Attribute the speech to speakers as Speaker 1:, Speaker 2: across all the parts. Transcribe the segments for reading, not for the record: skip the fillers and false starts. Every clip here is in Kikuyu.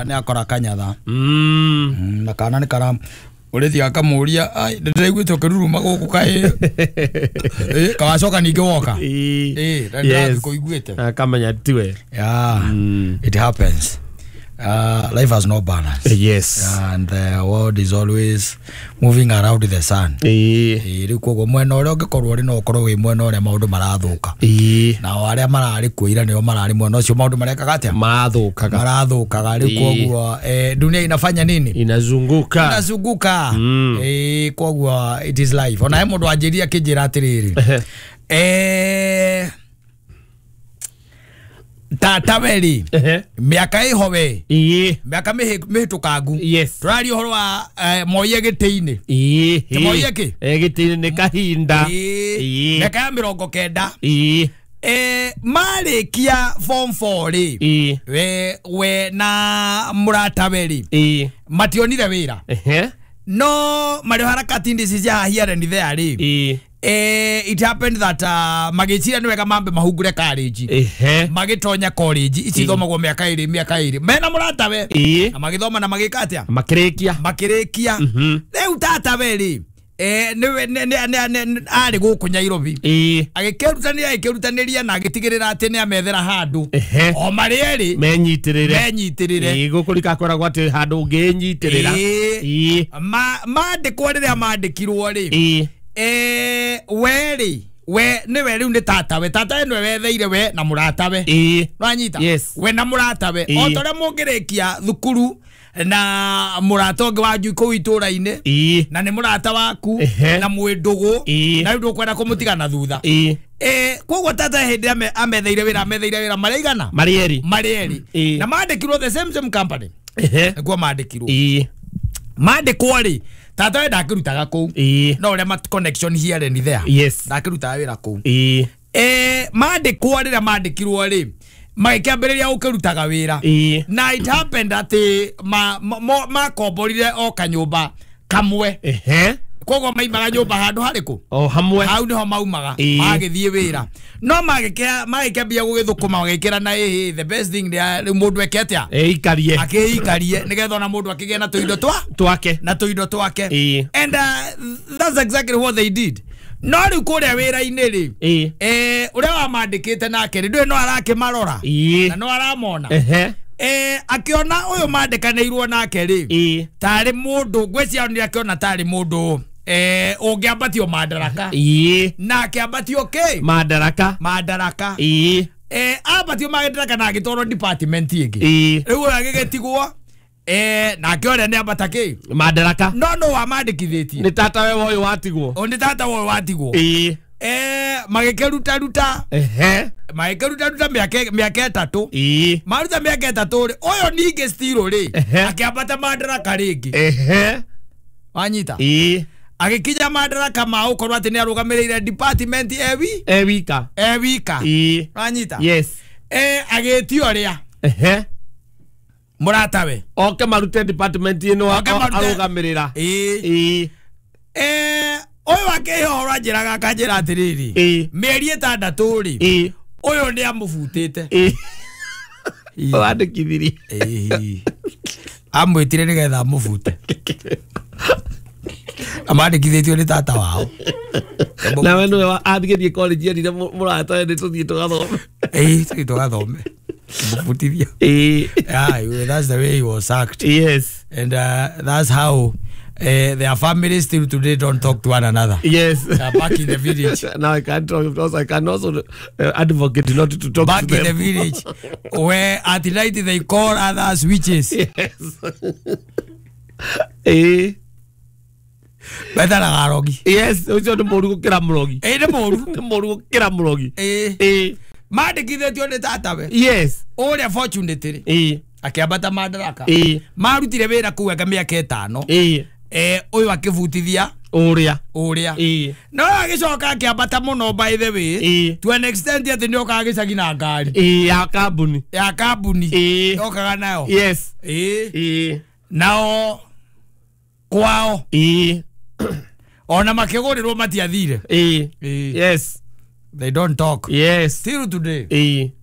Speaker 1: Nĩ akora kanyatha. Na kana nĩ kara ũrĩthi akamũria ndĩraiguĩte ũkĩruruma gũkũ kaĩ kawacoka ningĩ woka. Na ndĩrakũiguĩte.
Speaker 2: Akamenya tiwe.
Speaker 1: Yeah, it happens. Life has no balance.
Speaker 2: Yes.
Speaker 1: And the world is always moving around the sun. Rĩu koguo mwena ũrĩa ũngĩkorwo ũrĩ no ũkorwo wĩ mwena ũrĩa maũndũ marathũka. Nao arĩa mararĩ kuo ira nĩo mararĩ mwena ũcio maũndũ marekaga atĩa?
Speaker 2: Marathũkaga.
Speaker 1: Marathũkaga. Rĩu koguo dunia inafanya nini?
Speaker 2: Inazunguka.
Speaker 1: Inazunguka. Koguo it is life. Ona he mũndũ anjĩria akĩnjĩra atĩrĩrĩ. Tata weri miaka iho we miaka mihitukangu turaria uhoro wa moiye gitiini moiye ki
Speaker 2: gitiini ni kahinda
Speaker 1: miaka ya 90 marikia form 4 ri we na murata weri mationire wira no mari harakati ndici cia here and there ri it happened that magĩciria nĩ wega mambe mahungure college magĩtonya college ici thomagwo mĩaka ĩrĩ mena mũratawe na magĩthoma na magĩka atĩa makĩrĩkia rĩu tatawe rĩ nĩwe arĩ gũkũ Nairobi agĩkĩrutanĩria na agĩtigĩrĩra atĩ nĩ amethera handũ o marĩ erĩ menyitĩrĩre
Speaker 2: gũkũ rikakoragwo atĩ handũ ũngĩnyitĩrĩra
Speaker 1: mandĩkwo rĩrĩa mandĩkirwo rĩ weri we niwe riu ni tatawe tatawe niwe wetheire we na muratawe nwanyita we na muratawe o toria mungirikia thukuru na murata ungi wanju kuu itura-ini na ni murata waku na mwi ndugu na riu ndukwenda kumutiga na thutha koguo tata hindi ametheire wira mareigana
Speaker 2: marieri
Speaker 1: na mandikirwo the same company niguo mandikirwo mandikwo ri tata we ndakirutaga kuu no uria mat connection here and there ndakirutaga wira kuu mandikwo riria mandikirwo ri magĩkĩambĩrĩria gũkĩrutaga wĩra na it happened atĩ makomborire o kanyũmba kamwe koguo maimaga nyũmba handũ harĩkũ
Speaker 2: o hamwe
Speaker 1: hau nĩho maumaga magĩthiĩ wĩra no magĩkĩambia gũgĩthũkũma magĩkĩra na the best thing rĩu mũndũ eke atĩa
Speaker 2: eikarie
Speaker 1: akĩikarie nĩgetha ona mũndũ akĩgĩe na tũindo
Speaker 2: twake
Speaker 1: na tũindo twake and that's exactly what they did. No rĩu kũrĩa wĩra-inĩ rĩ ũrĩa wamandĩkĩte nake rĩ ndũĩ no arakĩmarora na no aramona akiona ũyũ mandĩkanĩirwo nake rĩ tarĩ mũndũ ngwĩciria nĩ akĩona tarĩ mũndũ ũngĩambatio madaraka na akĩambatio kĩ madaraka ambatio madaraka na agĩtwarwo department ĩngĩ rĩu ũyũ agĩgĩtigwo nake ũrĩa nĩ ambata kĩ
Speaker 2: madaraka
Speaker 1: no no wamandĩkithĩtie
Speaker 2: nĩ tatawe ũyũ watigwo
Speaker 1: nĩ tatawe ũyũ watigwo magĩkĩrutaruta magĩkĩrutaruta mĩaka ĩtatũ maruta mĩaka ĩtatũ rĩ ũyũ ningĩ still rĩ akĩambata madaraka rĩngĩ wanyita agĩkinya madaraka ma ũkorwo atĩ nĩ arũgamĩrĩire department ewika wanyita
Speaker 2: yes
Speaker 1: agĩtio ũrĩa mũratawe
Speaker 2: oke marute department ĩno arũgamĩrĩra
Speaker 1: ũyũ akĩhe ũhoro anjĩraga akanjĩra atĩrĩrĩ mĩeri ĩtandatũ rĩ ũyũ nĩ amũbutĩte
Speaker 2: wandĩkithirie
Speaker 1: amwĩtire nĩgetha amũbute amandĩkithĩtio nĩ tata wao
Speaker 2: nawe nĩwe athigĩrie college erire mũratawe nĩ tũthiĩ tũgathome
Speaker 1: tũthiĩ tũgathome mũbutithia yeah, that's the way he was sacked.
Speaker 2: Yes.
Speaker 1: And that's how their families still today don't talk to one another.
Speaker 2: Yes.
Speaker 1: Back in the village.
Speaker 2: Now I can't talk. Also, I can also advocate not to talk
Speaker 1: back
Speaker 2: to them.
Speaker 1: In the village, where at night they call others witches.
Speaker 2: Yes.
Speaker 1: Betaraga arogi.
Speaker 2: Yes, ucio ni mũru gũkĩra mũrogi.
Speaker 1: Nĩ mũru.
Speaker 2: Nĩ mũru gũkĩra mũrogi.
Speaker 1: Mandĩkithĩtio nĩ tatawe.
Speaker 2: Yes.
Speaker 1: Ũrĩa fortunately akĩambata madaraka. Marutire wĩra kũu anga mĩaka ĩtano. Ũyũ akĩbutithia
Speaker 2: ũrĩa.
Speaker 1: No agĩcoka akĩambata mũno by the way to an extent atĩ nĩ okaga gĩcagi na ngari
Speaker 2: ya kambuni.
Speaker 1: Ya kambuni. Okaga nayo.
Speaker 2: Yes.
Speaker 1: Nao kwao. Ona makĩgũrĩrwo matiathire.
Speaker 2: Yes.
Speaker 1: They don't talk.
Speaker 2: Yes.
Speaker 1: Still today.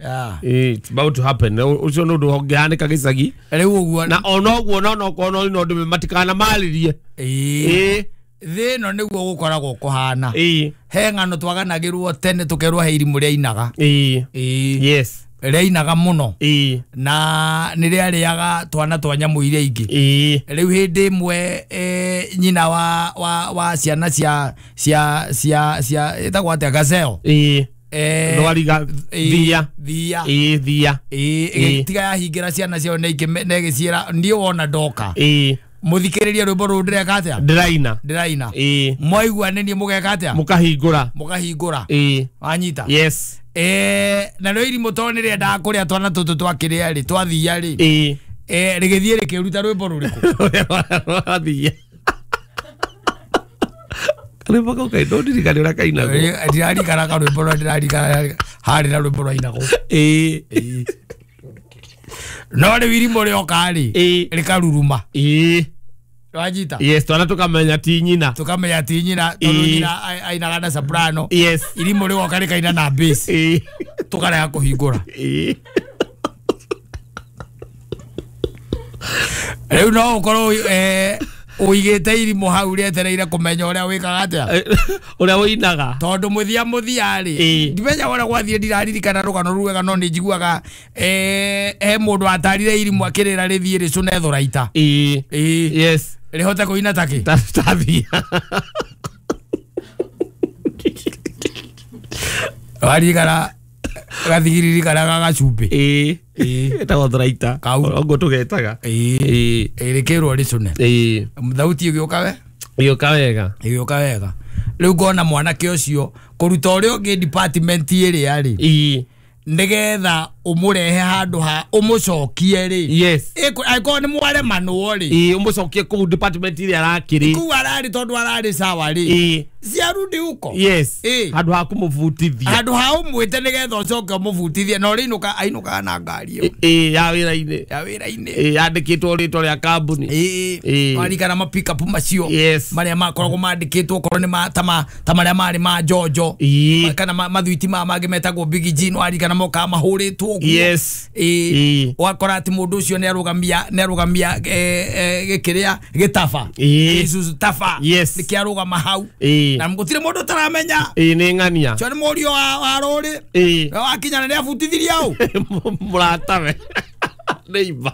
Speaker 1: Yeah.
Speaker 2: It's about to happen. Ucio nä å ndå ũngĩhanĩka gĩcagi.
Speaker 1: Rĩu ũguo
Speaker 2: na ona ũguo no no kono no ndũ matikana marĩrie.
Speaker 1: Thĩ ĩno nĩguo gũkoragwo kũhana. He ng'ano twaganagĩrwo tene tũkerwo he irimũ rĩainaga.
Speaker 2: Yes.
Speaker 1: Rĩainaga mũno. Na nĩ rĩarĩaga twana twa nyamũ iria ingĩ. Rĩu hĩndĩ ĩmwe nyina wa ciana cia cia cia cia ĩtagwo atĩa gazelle.
Speaker 2: Ndwariga thia.
Speaker 1: Thia.
Speaker 2: Thia.
Speaker 1: Ĩgĩtiga yahingĩra ciana ciao na ĩgĩciĩra niĩ wona ndoka. Muthikiririe rwimbo rũrũ ndĩreka atĩa?
Speaker 2: Ndĩraina.
Speaker 1: Ndĩraina. Mwaigua nĩ niĩ mũgeka atĩa?
Speaker 2: Mũkahingũra.
Speaker 1: Mũkahingũra. Wanyita?
Speaker 2: Yes.
Speaker 1: Na rĩo irimũ tondũ nĩrĩendaga kũrĩa twana tũtũ twakĩrĩa rĩ, twathia rĩ. Rĩgĩthiĩ rĩkĩruta rwĩmbo rũrĩkũ?
Speaker 2: Rwathia. Karwĩmbo kau kaĩ ndũndirikane ũrĩa kainagwo.
Speaker 1: Ndirarikana karwĩmbo rũrĩa ndĩrarikana harĩ na rwĩmbo rwainagwo. No rĩu irimũ rĩoka rĩ, rĩkaruruma. Wanyita?
Speaker 2: Yes, twana tukamenya ti nyina.
Speaker 1: Tukamenya ti nyina tondu nyina ainaga na soprano.
Speaker 2: Yes.
Speaker 1: Irimũ rĩgoka rĩkaina na bass. Tukarega kũhingũra. Rĩu no ũkorwo ũigĩte irimũ hau rĩetereire kũmenya ũrĩa wĩkaga atĩa?
Speaker 2: Ũrĩa ũinaga.
Speaker 1: Tondũ mũthia mũthia rĩ, ndimenya ũrĩa gwathiĩ ndiraririkana rũgano rũu wega no nĩ njiguaga he mũndũ atarire irimũ akĩrĩra rĩthiĩ rĩcũne thũraita.
Speaker 2: Yes.
Speaker 1: Rĩhote kũina ta kĩ?
Speaker 2: Ta thia.
Speaker 1: Waririkana gathigiriri karĩa ga gacumbĩ.
Speaker 2: Getagwo thũraita.
Speaker 1: Kau.
Speaker 2: Ũguo tũgetaga.
Speaker 1: Rĩkĩrwo rĩcũne. Thauti ĩgĩũka we?
Speaker 2: Ĩgĩũka wega.
Speaker 1: Ĩgĩũka wega. Rĩu ngona mwanake ũcio kũruta ũrĩa ũngĩ department ĩrĩa rĩ. Nĩgetha ũmũrehe handũ ha ũmũcokie rĩ.
Speaker 2: Yes.
Speaker 1: Angĩkorwo nĩ mwaremanwo rĩ.
Speaker 2: Ũmũcokie kũu department ĩrĩa arakĩrĩ.
Speaker 1: Kũu ararĩ tondũ ararĩ sawa rĩ. Ciarudi huko.
Speaker 2: Yes. Handũ ha kũmũbutithia.
Speaker 1: Handũ ha ũmwĩte nĩgetha ũcoke ũmũbutithie na ũrĩinũka ainũkaga na ngari ĩyo.
Speaker 2: Ya wĩra-inĩ.
Speaker 1: Ya wĩra-inĩ.
Speaker 2: Yandĩkĩtwo rĩtwa rĩa kambuni.
Speaker 1: Warikana ma pick up macio.
Speaker 2: Yes.
Speaker 1: Marĩa makoragwo mandĩkĩtwo okorwo nĩ ta marĩa marĩ ma Njonjo. Kana mathwiti maya mangĩ metagwo Big G, warikana mokaga mahũrĩtwo ũguo.
Speaker 2: Yes.
Speaker 1: Ũgakora atĩ mũndũ ũcio nĩarũgamia gĩkĩrĩa gĩtaba. Isuzu taba.
Speaker 2: Yes.
Speaker 1: Nĩkĩarũgama hau. Na gũtirĩ mũndũ ũtaramenya.
Speaker 2: Nĩ ng'ania.
Speaker 1: Ũcio nĩ mũriũ wa rũrĩ. Wakinya na nĩabutithirie hau.
Speaker 2: Mũratawe. Neighbor.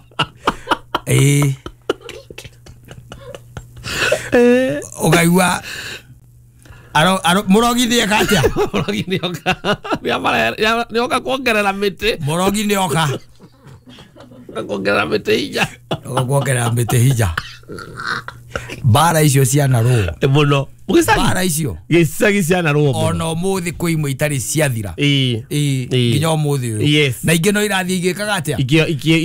Speaker 1: Ũkaigua mũrogi nĩeka atĩa?
Speaker 2: Mũrogi nĩoka. Nĩoka kuongerera mĩtĩ.
Speaker 1: Mũrogi nĩoka.
Speaker 2: Kuongerera mĩtĩ hinya.
Speaker 1: Kuongerera mĩtĩ hinya. Mbara icio cianarũo.
Speaker 2: Mũno.
Speaker 1: Mbara icio.
Speaker 2: Gĩcagi cianarũo mũno.
Speaker 1: Ona ũmũthĩ kwĩ imwe itarĩ ciathira. Nginya ũmũthĩ ũyũ.
Speaker 2: Yes.
Speaker 1: Na ingĩ no irathiĩ igĩkaga atĩa?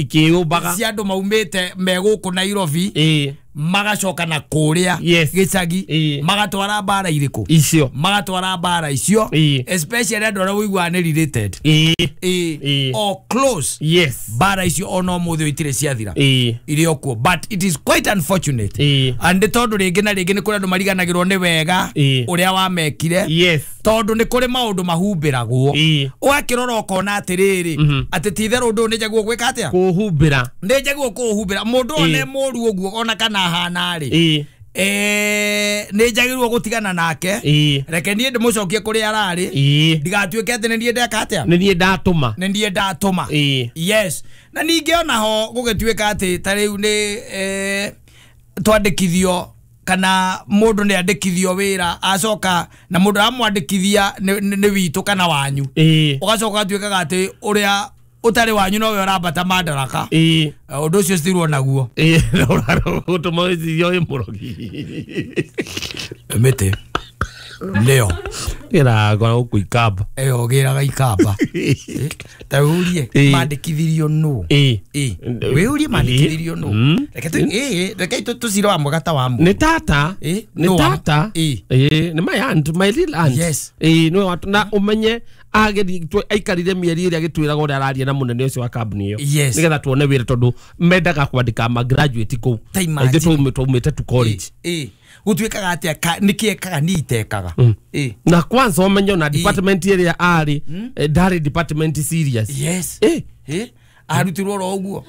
Speaker 2: Ikĩyũmbaga.
Speaker 1: Cia andũ maumĩte me gũkũ Nairobi. Magacoka na kũrĩa gĩcagi. Magatwara mbara irĩkũ?
Speaker 2: Icio.
Speaker 1: Magatwara mbara icio. Especially andũ arĩa ũiguaga nĩ related. Or close.
Speaker 2: Yes.
Speaker 1: Mbara icio ona ũmũthĩ ũyũ itirĩ ciathira. Irĩ o kuo. But it is quite unfortunate. And tondũ rĩngĩ na rĩngĩ nĩ kũrĩ andũ mariganagĩrwo nĩ wega ũrĩa wamekire.
Speaker 2: Yes.
Speaker 1: Tondũ nĩ kũrĩ maũndũ mahumbĩragwo. Ũgakĩrora ũkona atĩrĩrĩ, atĩ ti itherũ ũndũ ũyũ nĩ njagĩrĩirwo gwĩka atĩa?
Speaker 2: Kũũhumbĩra.
Speaker 1: Nĩ njagĩrĩirwo kũũhumbĩra. Mũndũ ũyũ nĩ mũũru ũguo ona kana ahana rĩ. Nĩ njagĩrĩirwo gũtigana nake. Reke niĩ ndĩmũcokie kũrĩa ararĩ. Ndigatuĩke atĩ nĩ niĩ ndeka atĩa?
Speaker 2: Nĩ niĩ ndatũma.
Speaker 1: Nĩ niĩ ndatũma. Yes. Na ningĩ onaho gũgĩtuĩka atĩ ta rĩu nĩ twandĩkithio kana mũndũ nĩ andĩkithio wĩra acoka na mũndũ amwandĩkithia nĩ witũ kana wanyu. Ũgacoka ũgatuĩkaga atĩ ũrĩa ũtarĩ wanyu nowe ũrambata madaraka. Ũndũ ũcio citirwo naguo.
Speaker 2: Ũtũma wĩcirie wĩ mũrogi.
Speaker 1: Mĩtĩ nĩyo
Speaker 2: Gĩraga gũkũ Ikamba.
Speaker 1: Ĩyo gĩraga Ikamba. Ta wĩũrie mandĩkithirio nũ? Wĩũrie mandĩkithirio nũ? Reke tũcire wa mwega ta wa mũndũ.
Speaker 2: Nĩ tata. Nĩ tata. Nĩ my aunt, my little aunt.
Speaker 1: Yes.
Speaker 2: Nĩwe na ũmenye Ageri aikarire mĩeri ĩrĩa agĩtwĩraga ũrĩa araria na mũnene ũcio wa kambuni ĩyo nĩgetha tuone wĩra tondũ mendaga kwandĩka ma graduate kũu ithuĩ twaumĩte tu college.
Speaker 1: Gũtuĩkaga atĩa nĩkĩ ekaga niĩ itekaga.
Speaker 2: Na kwanza ũmenye ona department ĩrĩa arĩ ndarĩ department serious.
Speaker 1: Yes. Arutirwo oro ũguo.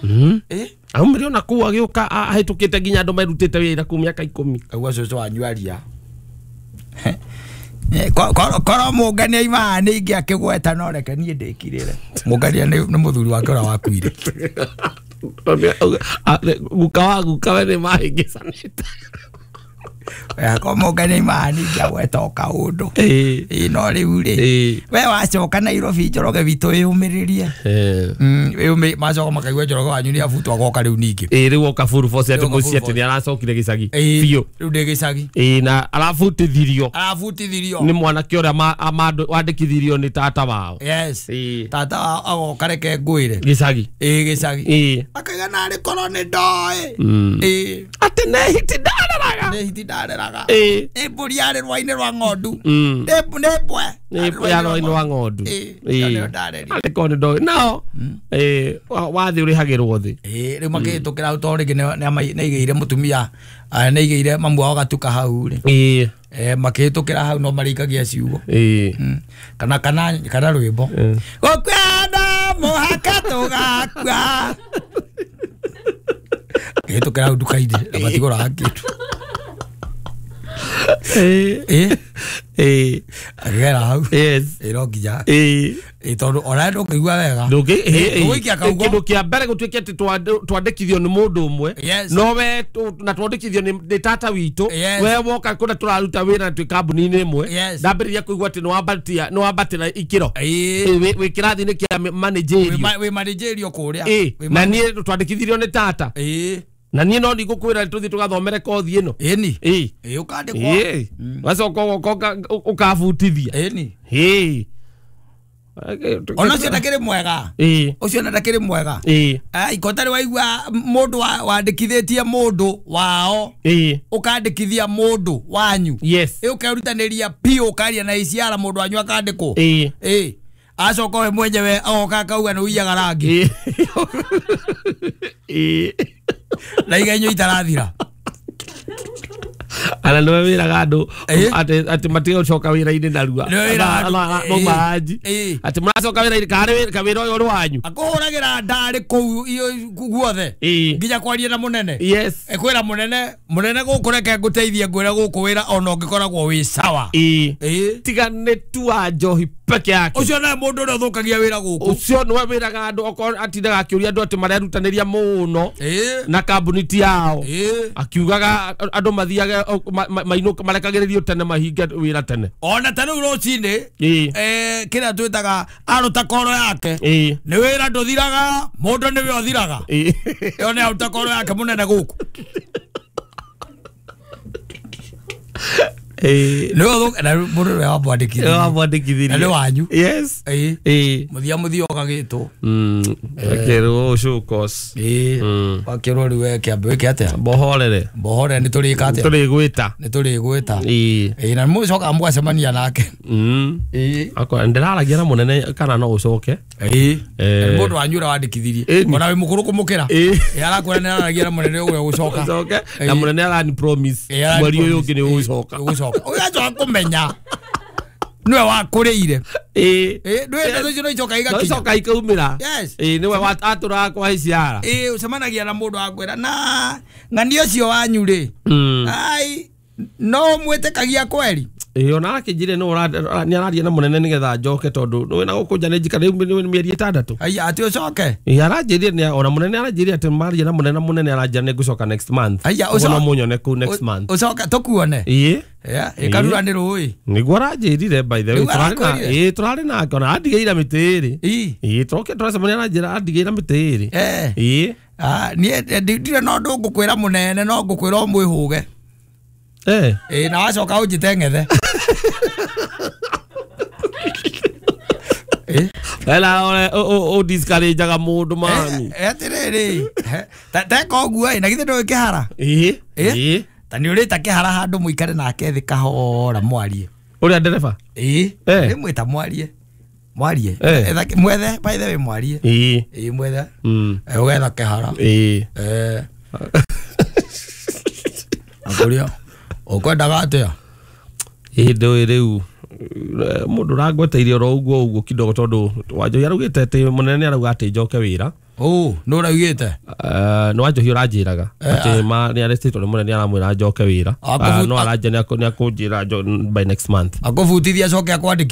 Speaker 2: Aumire ona kũu agĩũka ahĩtũkĩte nginya andũ merutĩte wĩra kũu mĩaka 10.
Speaker 1: Kaigua cũcũ wanyu aria. Korwo Mũngania imaha nĩ ingĩ akĩgweta no reke niĩ ndĩkirĩre. Mũngania nĩ mũthuri wake ũrĩa wakuire.
Speaker 2: Guka wa guka we nĩ mahĩngĩcanĩte.
Speaker 1: Korwo Mũngania imaha nĩ ingĩ agweta o kaũndũ. No rĩu rĩ we wacoka Nairobi Njoroge witũ wĩyũmĩrĩrie. Macoka makaigua Njoroge wanyu nĩ abutwo agoka rĩu ningĩ.
Speaker 2: Rĩu oka full force atĩ mũciĩ atĩ nĩ aracokire gĩcagi biũ.
Speaker 1: Rĩu ndĩ gĩcagi.
Speaker 2: Na arabutithirio.
Speaker 1: Arabutithirio.
Speaker 2: Nĩ mwanake ũrĩa wandĩkithirio nĩ tata wao.
Speaker 1: Yes. Tata wao agoka reke ngwĩre.
Speaker 2: Gĩcagi.
Speaker 1: Gĩcagi. Akaiga narĩ korwo nĩ ndoĩ.
Speaker 2: Atĩ nĩ hiti ndareraga.
Speaker 1: Nĩ hiti ndareraga. Nĩ mbũri yarĩ rwa-inĩ rwa ng'ondu. Nĩ mbwe.
Speaker 2: Nĩ ya rwa-inĩ rwa ng'ondu. Arĩ korwo nĩ ndoĩ. Nao wathĩ ũrĩhagĩrwo thĩ.
Speaker 1: Rĩu makĩhĩtũkĩra hau tondũ rĩngĩ nĩ aigĩire mũtumia nĩ aigĩire mamu wao gatuka hau rĩ. Makĩhĩtũkĩra hau no marĩikagia ciugo. Kana kana kana rwĩmbo. Gũkua mũhaka tũgakua. Kĩhĩtũkĩra hau nduka-inĩ na matigũraga kĩndũ. Akĩgera hau.
Speaker 2: Yes.
Speaker 1: No nginya. Tondũ ona ndũkĩigua wega.
Speaker 2: Kĩndũ kĩa mbere gũtuĩke atĩ twandĩkithio nĩ mũndũ ũmwe. No we na twandĩkithio nĩ tata witũ. We woka kũrĩa tũraruta wĩra twĩ kambuni-inĩ ĩmwe. Ndambĩrĩria kũigua atĩ nĩ wambatĩra ikĩro. Wĩ kĩrathi-inĩ kĩa managerial.
Speaker 1: Wĩ managerial kũrĩa.
Speaker 2: Na niĩ twandĩkithirio nĩ tata. Na niĩ no ndigũkwĩra tũthiĩ tũgathomere kothi ĩno.
Speaker 1: Ĩni. Ũkandĩkwo.
Speaker 2: Wacoka ũgoka ũkabutithia.
Speaker 1: Ĩni. Ona ũcio ndakĩrĩ mwega. Ũcio ona ndakĩrĩ mwega. Iko tarĩ waigua mũndũ wandĩkithĩtie mũndũ wao. Ũkandĩkithia mũndũ wanyu.
Speaker 2: Yes.
Speaker 1: Ũkerutanĩria biũ ũkaria na iciara mũndũ wanyu akandĩkwo. Acoka we mwenyewe agoka akauga nĩ ũiyaga rangi. Na igenyo itarathira.
Speaker 2: Ana nĩwe wĩraga andũ atĩ matige gũcoka wĩra-inĩ narua. Mauma anji. Atĩ mũracoka wĩra-inĩ karĩ wĩra ũyũ ũrĩ wanyu.
Speaker 1: Akũhũragĩra ndarĩ kũu guothe. Nginya kwaria na mũnene.
Speaker 2: Yes.
Speaker 1: Ekwĩra mũnene, mũnene gũkũ reke ngũteithie ngwĩre gũkũ wĩra ona ũngĩkoragwo wĩ sawa.
Speaker 2: Tiga nĩ tu wa njohi peke yake.
Speaker 1: Ũcio nĩwe mũndũ ũrĩa ũthũkagia wĩra gũkũ.
Speaker 2: Ũcio nĩwe wĩraga andũ okorwo atindaga akĩũria andũ atĩ marerutanĩria mũno na kambuni ti yao. Akiugaga andũ mathiage mainũka marekagĩrĩrio tene mahinge wĩra tene.
Speaker 1: Ona ta rĩu rũcinĩ kĩrĩa twĩtaga aruta koro yake. Nĩ wĩra ndũthiraga, mũndũ nĩwe ũthiraga. Ĩyo nĩ aruta koro yake mũnene gũkũ. Na mũndũ ũrĩa wamwandĩkithirie. Na nĩ wanyu.
Speaker 2: Yes.
Speaker 1: Mũthia mũthia ũgagĩtwo.
Speaker 2: Akĩrwo show course.
Speaker 1: Wakĩrwo rĩu we kĩambe wĩke atĩa?
Speaker 2: Mbohorere.
Speaker 1: Mbohorere nĩ tũrĩka atĩa?
Speaker 2: Tũrĩgwĩta.
Speaker 1: Nĩ tũrĩgwĩta. Na mũcokaga mũgacemania nake.
Speaker 2: Akwa ndĩraragia na mũnene kana no ũcoke.
Speaker 1: Mũndũ wanyu ũrĩa wandĩkithirie. Ona wĩ mũkũrũ kũmũkĩra. Arakwĩra nĩ araragia na mũnene ũrĩa ũgũcoka.
Speaker 2: Ũcoke. Na mũnene arani promise mweri ũyũ ũngĩ nĩ ũgũcoka.
Speaker 1: Ũgũcoka. Ũgacoka kũmenya nĩwe wakũrĩire. Nĩwe icio no icoka igakinya.
Speaker 2: No icoka ikaumĩra. Nĩwe atũraga kwa iciara.
Speaker 1: Ũcemanagia na mũndũ akwĩra na ng'ania ũcio wanyu rĩ. Ai no mwĩtĩkagia kweri.
Speaker 2: Ona akĩnjĩre nĩ araria na mũnene nĩgetha njoke tondũ nĩ na gũkũ nja nĩ njikara rĩu mĩeri 6.
Speaker 1: Aya atĩ ũcoke.
Speaker 2: Aranjĩrire ona mũnene aranjĩrire atĩ maria na mũnene mũnene aranjĩra nĩ ngũcoka next month.
Speaker 1: Aya
Speaker 2: ũcoke no mũnyone kũu next month.
Speaker 1: Ũcoke tũkuone. Ĩkarura nĩ rũĩ.
Speaker 2: Nĩguo aranjĩrire by the way tũrarĩ nake ona andigĩire mĩtĩ ĩrĩ. Tũroke tũracemania aranjĩra andigĩire mĩtĩ ĩrĩ.
Speaker 1: Niĩ ndirĩ na ũndũ ngũkwĩra mũnene no ngũkwĩra ũmwĩhũge. Na wacoka ũnjĩte ng'ethe.
Speaker 2: Ela o discourage-aga mũndũ mami.
Speaker 1: Atĩrĩrĩ, teka ũguo na githĩ ndũĩ kĩhara? Ta nĩ ũrĩta kĩhara handũ mũikare nake thĩ kahora mwarie.
Speaker 2: Ũrĩa ndereba?
Speaker 1: Rĩmwe ta mwarie. Mwarie. Mwethe by the way mwarie. Ĩĩ mwethe. Ũgetha kĩhara. Ĩĩ. Akũria ũkwendaga atĩa?
Speaker 2: Ĩĩ ndũĩ rĩu mũndũ ũrangweteirie oro ũguo ũguo kidogo tondũ Wanjohi araugĩte atĩ mũnene nĩ arauga atĩ njoke wĩra.
Speaker 1: Nũ ũraugĩte?
Speaker 2: Nĩ Wanjohi ũranjĩraga atĩ ma nĩ arestĩtwo nĩ mũnene aramwĩra njoke wĩra. No aranja nĩ akũnjĩra by next month.
Speaker 1: Akũbutithia acoke akwandĩkithie.